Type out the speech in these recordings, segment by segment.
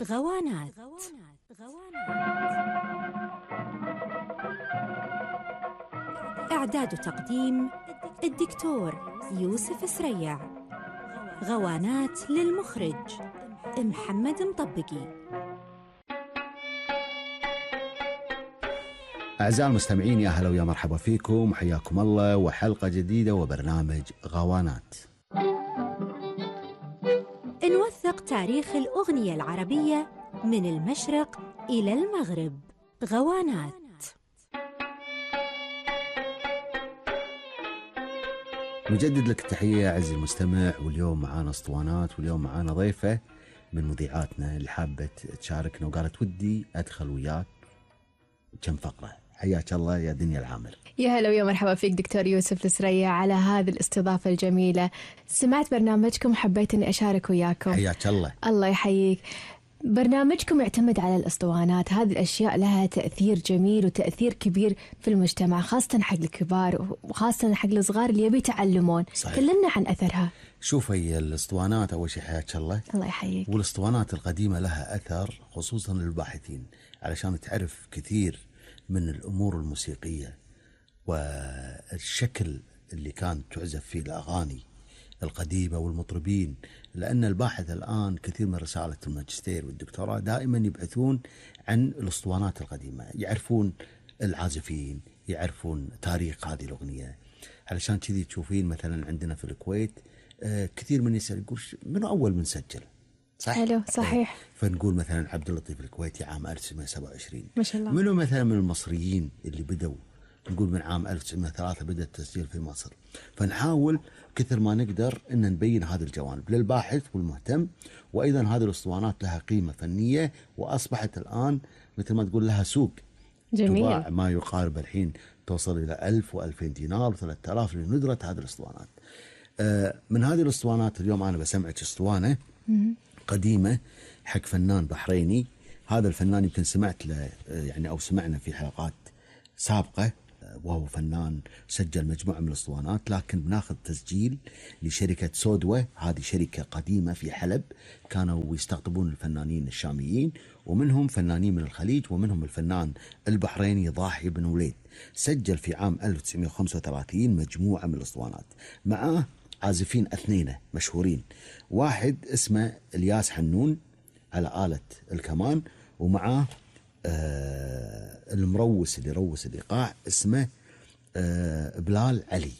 غوانات. إعداد وتقديم الدكتور يوسف سريع. غوانات للمخرج محمد مطبقي. أعزائي المستمعين، يا هلا ويا مرحبا فيكم، حياكم الله وحلقة جديدة وبرنامج غوانات. نوثق تاريخ الأغنية العربية من المشرق إلى المغرب. غوانات. نجدد لك التحية عزيزي المستمع، واليوم معانا اسطوانات، واليوم معانا ضيفة من مذيعاتنا اللي حابة تشاركنا وقالت ودي أدخل وياك كم فقرة. حياك الله يا دنيا العامر. يا هلا ويا مرحبا فيك دكتور يوسف السريع على هذه الاستضافة الجميلة. سمعت برنامجكم وحبيت أني أشارك وياكم. حياك الله. الله يحييك. برنامجكم يعتمد على الأسطوانات، هذه الأشياء لها تأثير جميل وتأثير كبير في المجتمع، خاصة حق الكبار وخاصة حق الصغار اللي يبي يتعلمون. كلمنا عن أثرها. شوف، هي الأسطوانات أول شيء حياك الله. الله يحييك. والأسطوانات القديمة لها أثر خصوصا للباحثين، علشان تعرف كثير من الأمور الموسيقية والشكل اللي كانت تعزف فيه الأغاني القديمة والمطربين. لأن الباحث الآن كثير من رسالة الماجستير والدكتوراه دائما يبحثون عن الأسطوانات القديمة، يعرفون العازفين، يعرفون تاريخ هذه الأغنية. علشان كذي تشوفين مثلا عندنا في الكويت كثير من يسأل يقول من أول من سجل. صح؟ حلو، صحيح. فنقول مثلا عبد اللطيف الكويتي عام 1927. ما شاء الله. منو مثلا من المصريين اللي بدوا؟ نقول من عام 1903 بدأ التسجيل في مصر. فنحاول كثر ما نقدر أن نبين هذه الجوانب للباحث والمهتم. وأيضا هذه الأسطوانات لها قيمة فنية، وأصبحت الآن مثل ما تقول لها سوق. جميل. تباع ما يقارب الحين توصل إلى 1000 و2000 دينار و3000 لندرة هذه الأسطوانات. من هذه الأسطوانات اليوم أنا بسمعك أسطوانة قديمة حق فنان بحريني. هذا الفنان يمكن سمعت له يعني أو سمعنا في حلقات سابقة، وهو فنان سجل مجموعة من الأسطوانات. لكن بناخذ تسجيل لشركة سودوة، هذه شركة قديمة في حلب، كانوا يستقطبون الفنانين الشاميين، ومنهم فنانين من الخليج، ومنهم الفنان البحريني ضاحي بن وليد. سجل في عام 1935 مجموعة من الأسطوانات، معاه عازفين اثنين مشهورين، واحد اسمه الياس حنون على آلة الكمان، ومعاه المروس اللي روس الإيقاع اسمه بلال علي.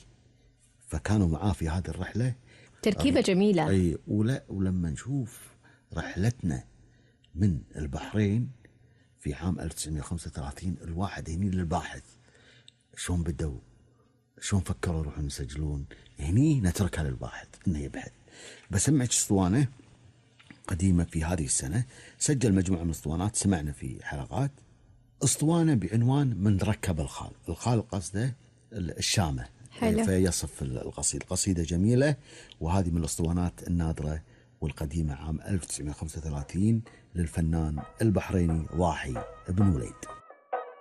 فكانوا معاه في هذه الرحلة. تركيبة جميلة. أي ولما نشوف رحلتنا من البحرين في عام 1935، الواحد هني للباحث شلون بدوا، شلون فكروا يروحون يسجلون، هني نتركها للباحث انه يبحث. بسمعك اسطوانة قديمة في هذه السنة، سجل مجموعة من الاسطوانات سمعنا في حلقات. اسطوانة بعنوان من ركب الخال. الخال قصده الشامة. حلو. فيصف القصيدة، قصيدة جميلة، وهذه من الاسطوانات النادرة والقديمة عام 1935 للفنان البحريني ضاحي بن وليد.